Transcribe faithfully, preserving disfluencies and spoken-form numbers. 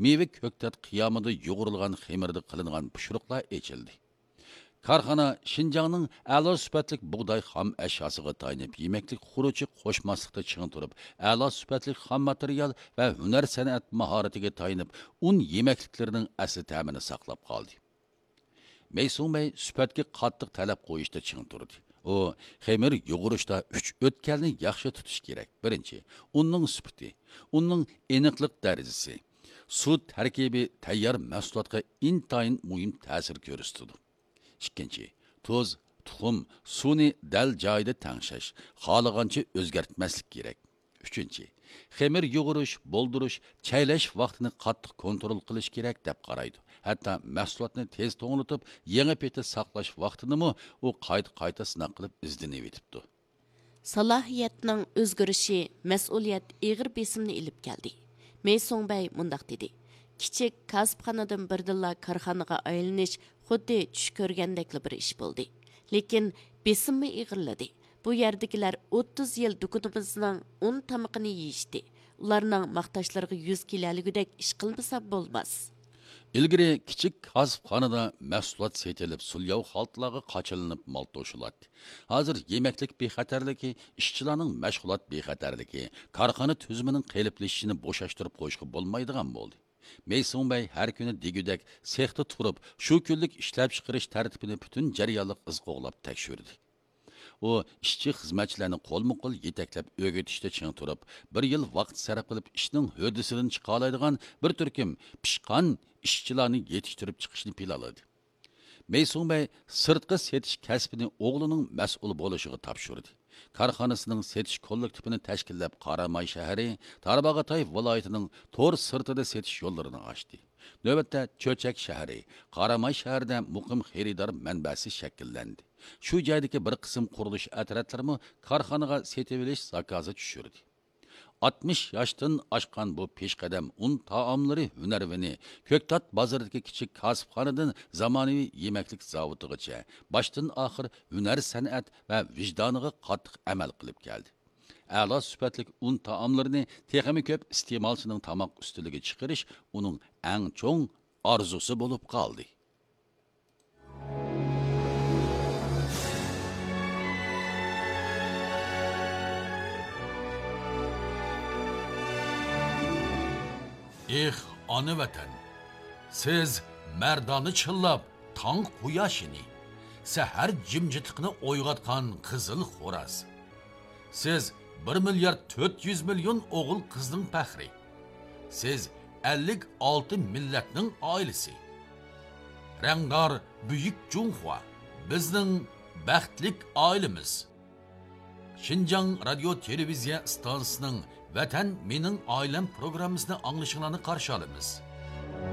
مېۋە كۆكتات قىيامىدا يۇغۇرۇلغان خېمىردا قىلىنغان پىشۇرۇقلار ئېچىلدى. كارخانا شىنجاڭنىڭ ئەلا سۈپەتلىك بۇغداي خام ئەشياسىغا تايىنىپ يېمەكلىك خۇرۇچى قوشماسلىقتا چىڭ تۇرۇپ، ئەلا سۈپەتلىك خام ماتېرىيال ۋە ھۈنەر سەنئەت ماھارىتىگە تايىنىپ ئۇن يېمەكلىكلىرىنىڭ ئەسلى تەمىنى ساقلاپ قالدى. مەيسۇڭبەي سۈپەتكە قاتتىق تەلەپ قويۇشتا چىڭ تۇردى. ئۇ خېمىر يۇغۇرۇشتا ئۈچ ئۆتكەلنى ياخشى تۇتۇش كېرەك. بىرىنچى، ئۇننىڭ سۈپىتى، ئۇننىڭ ئېنىقلىق دەرىجىسى، سۇ تەركىبى تەييار مەھسۇلاتقا ئىنتايىن مۇھىم تەسىر كۆرسىتىدۇ. ئىككىنچى، تۇز، تۇخۇم، سۇنى دەل جايىدا تەڭشەش، خالىغانچە ئۆزگەرتمەسلىك كېرەك. ئۈچىنچى، خېمىر يۇغۇرۇش، بولدۇرۇش، چەيلەش ۋاقتىنى قاتتىق كونترول قىلىش كېرەك دەپ قارايدۇ. ھەتتا مەھسۇلاتنى تېز توڭلىتىپ، يېڭى پېتى ساقلاش ۋاقتىنىمۇ ئۇ قايتا-قايتا سىناق قىلىپ ئىزدىنىۋېتىپتۇ. سالاھىيەتنىڭ ئۆزگىرىشى مەسئۇلىيەت ئېغىر بېسىمنى ئېلىپ كەلدى. مەيسۇڭبەي مۇنداق دېدى: كىچىك كاسىپخانىدىن بىردىنلا كارخانىغا ئايلىنىش خۇددى چۈش كۆرگەندەكلا بىر ئىش بولدى. لېكىن بېسىممۇ ئېغىرلىدى. بۇ يەردىكىلەر ئوتتۇز يىل دۇكىنىمىزنىڭ ئۇن تامىقىنى يېيىشتى. ئۇلارنىڭ ماختاشلىرىغا يۈز كېلەلىگۈدەك ئىش قىلمىسام بولماس. ئىلگىرى كىچىك كاسىپخانىدا مەھسۇلات سېتىلىپ، سۇلياۋ خالتىلارغا قاچىلىنىپ مال توشۇلاتتى. ھازىر يېمەكلىك بىخەتەرلىكى، ئىشچىلارنىڭ مەشغۇلات بىخەتەرلىكى، كارخانا تۈزۈمىنىڭ قېلىپلىشىشىنى بوشاشتۇرۇپ قويۇشقا بولمايدىغان بولدى. مەيسۇڭبەي ھەر كۈنى دېگۈدەك سېختا تۇرۇپ، شۇ كۈنلۈك ئىشلەپچىقىرىش تەرتىپىنى پۈتۈن جەريانلىق ئىز قوغلاپ تەكشۈردى. ئۇ ئىشچى-خىزمەتچىلەرنى قولمۇ-قول يېتەكلەپ ئۆگىتىشتە چىڭ تۇرۇپ، بىر يىل ۋاقىت سەرپ قىلىپ ئىشنىڭ ھۆددىسىدىن چىقالايدىغان بىر تۈركۈم پىشقان ئىشچىلارنى يېتىشتۈرۈپ چىقىشنى پىلانلىدى. مەيسۇڭبەي سىرتقا سېتىش كەسپىنى ئوغلىنىڭ مەسئۇل بولۇشىغا تاپشۇردى. كارخانىسىنىڭ سېتىش كوللېكتىپىنى تەشكىللەپ، قاراماي شەھىرى، تارباغاتاي ۋىلايىتىنىڭ تور سىرتىدا سېتىش يوللىرىنى ئاچتى. نۆۋەتتە چۆچەك شەھىرى، قاراماي شەھىرىدە مۇقىم خېرىدار مەنبەسى شەكىللەندى. شۇ جايدىكى بىر قىسىم قۇرۇلۇش ئەترەتلىرىمۇ كارخانىغا سېتىۋېلىش زاكازى چۈشۈردى. ئاتمىش ياشتىن ئاشقان بۇ پېشقەدەم ئۇن تائاملىرى ھۈنەرۋىنى كۆكتات بازىرىدىكى كىچىك كاسىپخانىدىن زامانىۋى يېمەكلىك زاۋۇتىغىچە باشتىن ئاخىر ھۈنەر سەنئەت ۋە ۋىجدانىغا قاتتىق ئەمەل قىلىپ كەلدى. ئەلا سۈپەتلىك ئۇن تائاملىرىنى تېخىمۇ كۆپ ئىستېمالچىنىڭ تاماق ئۈستىلىگە چىقىرىش ئۇنىڭ ئەڭ چوڭ ئارزۇسى بولۇپ قالدى. ئېھ، ئانا ۋەتەن! سىز مەردانە چىللاپ تاڭ قۇياشىنى، سەھەر جىمجىتلىقىنى ئويغاتقان قىزىل خوراز. سىز بىر مىليارد تۆت يۈز مىليون ئوغۇل-قىزنىڭ پەخرى. سىز ئەللىك ئالتە مىللەتنىڭ ئائىلىسى. رەڭدار بۈيۈك جۇڭخۇا، بىزنىڭ بەختلىك ئائىلىمىز. شىنجاڭ رادىيو تېلېۋىزىيە ئىستانسىسىنىڭ ۋەتەن مېنىڭ ئائىلەم پروگراممىسىنى ئاڭلىشىڭلارنى قارشى ئالىمىز.